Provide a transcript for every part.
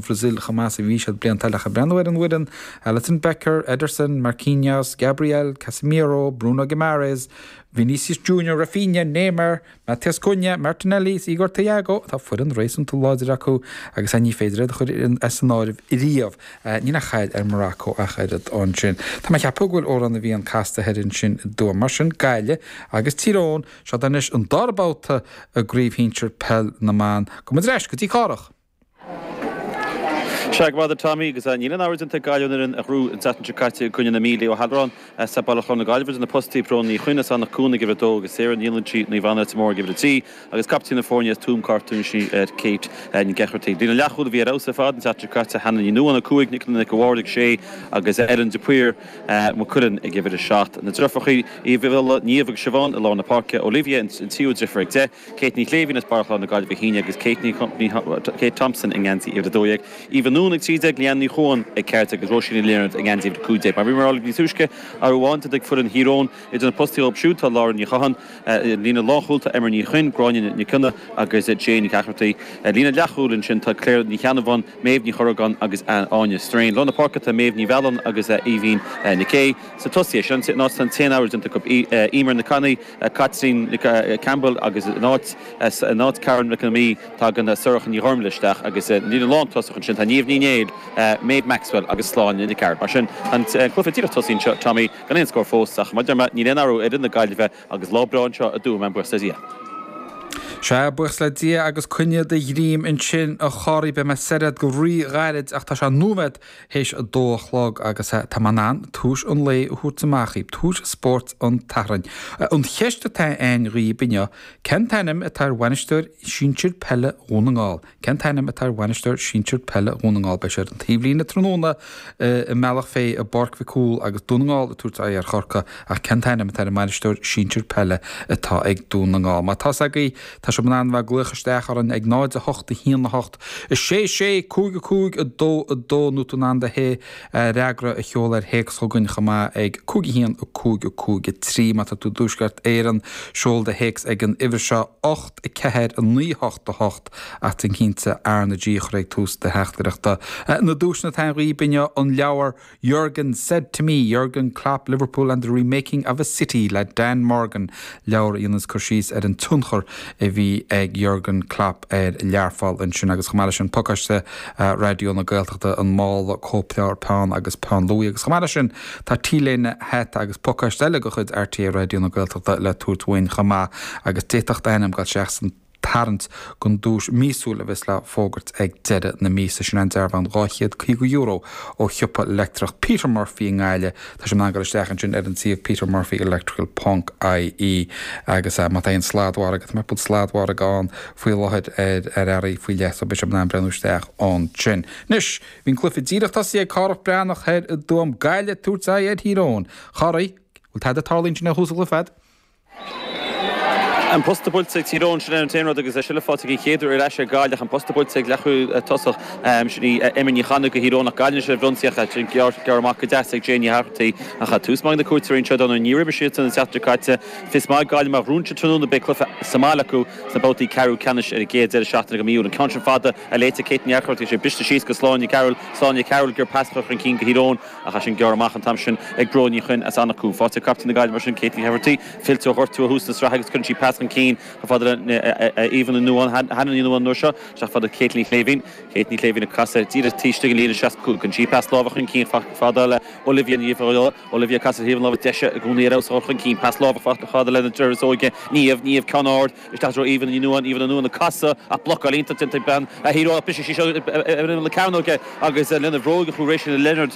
Bhrasaíl chomh maith is a bhí siad blianta eile ach ag breathnú ar an bhfoireann, Alisson Becker, Ederson, Marquinhos, Gabriel, Casemiro, Bruno Guimaraes, Vinicius Junior, Raphinha, Neymar, Matheus Cunha, Martinelli is Igor Thiago, tá foireann réasúnta láidir acu agus ní féidir iad a chur as an áireamh riamh. Níl aon chaill ar Morocco ach oiread ansin. Tá mé ag ceapadh go bhfuil Órán na bhFiann casta thoir ansin i dTuaim. Mar sin, Gaillimh agus Tír Eoghain, seo anois an dara babhta i gCraobh Shinsir Peil na mBan. Gabhfaidh muid ar ais go dtí Cárthach. Sea, go raibh maith agat Tommy, agus níl aon athrú déanta ag Gaillimh ón fhoireann a ghnóthaigh an tseachtain seo caite i gcoinne na Mí. Leo Halloran as Baile Chláir na Gaillimhe idir na postaí, Bróin Ní Chuinn as Anach Cuain ag uimhir a dó agus Sarah Ní Loinsigh, Naomh Anna Leitir Móir ag uimhir a 3 agus captaen na foirne as Tuaim Cartún sin í Kate Nic Eachmartaigh. Líne leathchúil a bhí ar fheabhas ar fad an tseachtain seo caite, Hannah Ní Nuadháin 5, Nicola Nic a' Bhaird ag 6 agus Erin de Paor Maigh Cuilinn ag uimhir a 7. Na deirfiúracha Uí Bhiolla, Niamh agus Siobhán i lár na páirce, Olivia an tríú deirfiúr ag 10, Kate Ní Shléibhín as Baile Chláir na Gaillimhe 11 agus Kate Ní Kate Thompson i ngeansaí uimhir 12, Eva Noone ag 13, Leanne Ní Chuan ag 14 agus Róisín Ní Lionáird i ngeansaí uimhir 15. Mar a bhí mé ag rá níos túisce, athrú amháin déanta ag foireann Thír Eoghain idir na postaí dóibh siúd tá Lauren Ní Chatháin, líne lánchúil tá Eimear Ní Chuinn, Gráinne Nic Cionnaith agus Jane Nic Eachmartaigh. Líne leathchúil ansin tá Claire Ní Cheannabháin, Méabh Ní Chorragáin agus Áine Strain. Lár na páirce tá Méabh Ní Mhealláin agus Aoibhín Nic Aoidh. Sna tosaithe, sin an áit atá an t-aon athrú déanta acu, Eimear Nic Annaidh, Caitlín Campbell agus in áit in áit Karen McNamee tagann Sorcha Ní Ghormlaithe isteach agus sa líne lántosach ansin tá Niamh Ní Néill, Maeve Maxwell agus Sláine Nic Airt. Mar sin an cluiche díreach tosaithe anseo Tommy gan aon scór fós ach mar a deir mé níl aon athrú ar fhoireann na Gaillimhe agus lá breá anseo i dTuaim buíochas le Dia. Sea, buíochas le Dia agus coinnigh do dhroim ansin a Chárthaigh, beidh mé soir agat go rí-ghairid ach tá sé nóiméad théis a dó a chlog agus tá mé in ann tomhais an lae a thabhairt amach dhaoibh, tomhais spóirt an tSathairn. An cheist atá againn dhaoibh inniu, cén t-ainm atá ar bhainisteoir sinsir peile Dhún na nGall? Cén t-ainm atá ar bhainisteoir sinsir peile Dhún na nGall? Beidh sé ar an taobhlíne tráthnóna i mBealach Féich i bPáirc Mhic Cumhaill agus Dún na nGall ag tabhairt aghaidh ar Chorcaigh ach cén t-ainm atá ar an mbainisteoir sinsir peile atá ag Dún na nGall? Má tá 's agaibh, tá sibh in ann a bheith ag glaoch isteach orainn ag 0 8 1 8 6 6 5 5 2 2 nó tú in ann do fhreagra a sheoladh ar théacs chugainn chomh maith ag 5 1 5 5 3. Má tá tú i dTuaisceart Éireann, seol do théacs ag an uimhir seo, 8 4 9 8 8 ach déan cinnte R na G a chur ag tús do theachtaireachta. Na duaiseanna atá againn dhaoibh inniu, an leabhar Jurgen Said to Me, Jurgen Klopp, Liverpool and the Remaking of a City le Dan Morgan, leabhar a dhéanas cur síos ar an tionchar a bhí ag Jurgen Klopp ar Learpholl ansin agus chomh maith leis sin pacáiste Raidió na Gaeltachta, an mála, cóipleabhar, peann agus peann luaidhe agus chomh maith leis sin tá T-léine, hata agus pacáiste eile de chuid RTÉ Raidió na Gaeltachta le tabhairt uainn chomh maith agus d'fhéadfadh d'ainm dul isteach san tarraingt don duais míosúil a bheas le fógairt ag deireadh na míosa. Sin an dearbhán €250 ó shiopa leictreach Peter Murphy i nGaillimh. Tá sibh in ann dul isteach ansin ar an suíomh petermurphyelectrical ponc ie agus má tá aon sladmhargadh, tá mé sladmhargadh ann faoi láthair ar ar earraí faoi leith so beidh sibh in ann breathnú isteach ansin. Anois, bhí an cluiche díreach tosaithe ag Cárthach Breathnach thoir i dTuaim, Gaillimh ag tabhairt aghaidh ar Thír Eoghain. A Chárthaigh, bhfuil tada ag tarlú ansin ó thús an chluiche fad? An posta buailte ag Tír Eoghain, sin é an t-aon rud agus é sin le fáilte den chéad uair ar ais ag Gaillimh. An posta buailte ag leathchúl tosach, sin í Eimear Ní Chanainn do Thír Eoghain ach Gaillimh anois ar an bhfrionsaíocht sin gearrtha amach go deas ag Jane Ní Fhathartaigh. Ach tús maith ag na cuairteoirí anseo Donagh ní raibh siad an tseachtain seo caite. Fios maith ag Gaillimh má ghnóthaíonn siad tráthnóna beidh cluiche sa mbaile acu sna babhtaí ceathrú ceannais ar an gcéad deireadh seachtaine de mhí Iúil. An ceann sin fada a léite Kate Ní Fhathartaigh sé briste síos go Sláine Carroll. Sláine Carroll ag iarraidh pas a chur chun cinn do Thír Eoghain. Ach é sin gearrtha amach an t-am sin ag Bróin Ní Chuinn as Anach Cuain. Faighte ag captaen na Gaillimhe mar sin, Kate Ní Fhathartaigh, fillte ó ghortú ó thús na sraithe agus cuireann sí pas chun cinn chomh fada le Aoibheann Ní Nuadháin, Hannah Ní Nuadháin an uair seo, isteach fada Kate Ní Shléibhín. Kate Ní Shléibhín ag casadh díreach taobh istigh den líne 65. Cuireann sí pas láimhe chun cinn chomh fada le Olivia Ní Bhiolla. Olivia ag casadh ar thaobh na láimhe deise i gcónaí ar fheabhas a chur chun cinn. Pas láimhe chomh fada lena deartháir is óige, Niamh. Niamh ceann ard. Isteach i dtreo Aoibheann Ní Nuadháin, Aoibheann Ní Nuadháin ag casadh ach blocáil iontach déanta ag bean Thír Eoghain ach briseadh sí seo ar imeall na cearnóige agus lena bhróig a chuaigh Rachel Leonard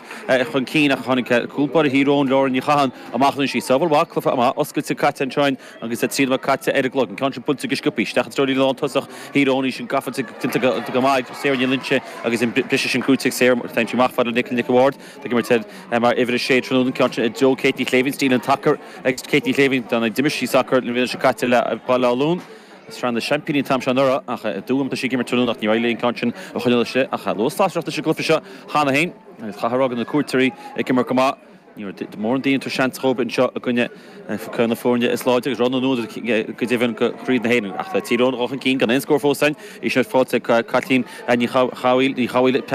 chun cinn ach tháinig cúl báire Thír Eoghain, Lauren Ní Chatháin, amach anois. Í sábháil mhaith, cluiche maith oscailte caite anseo agus 3 nóiméad caite ar an gclog. An ceann sin buailte go sciobtha isteach i dtreo líne lántosach Thír Eoghain, í sin gafa déanta go maith ag Sarah Ní Loinsigh agus an briseadh sin cruthaithe ag Sarah. Téann sí amach fada le Nicola Nic a' Bhaird. Tá ag imirt mar uimhir 6 tráthnóna an ceann sin i dtreo Kate Ní Shléibhín, stíl an tsacair. Ag Kate Ní Shléibhín, dar ndóigh d'imir sí sacar an bhliain seo caite le Baile Átha Luain. Sraith na Seaimpíní an t-am seo anuraidh ach i dTuaim tá sí ag imirt tráthnóna ach níor éirigh léi an ceann sin a choinneáil istigh ach luas lasrach leis an gcluiche seo cheana féin agus chaithfear a rá go na cuairteoirí ag imirt go maith. Ní raibh mórán daoine ag tabhairt seans dhóibh anseo i gcoinne ceann de na foirne is láidre agus rogha na n-údar go deimhin do Chraobh na hÉireann. Ach tá Tír Eoghain dul chun cinn gan aon scór fós ann. Í seo faighte ag Caitlín Ní Chabhail.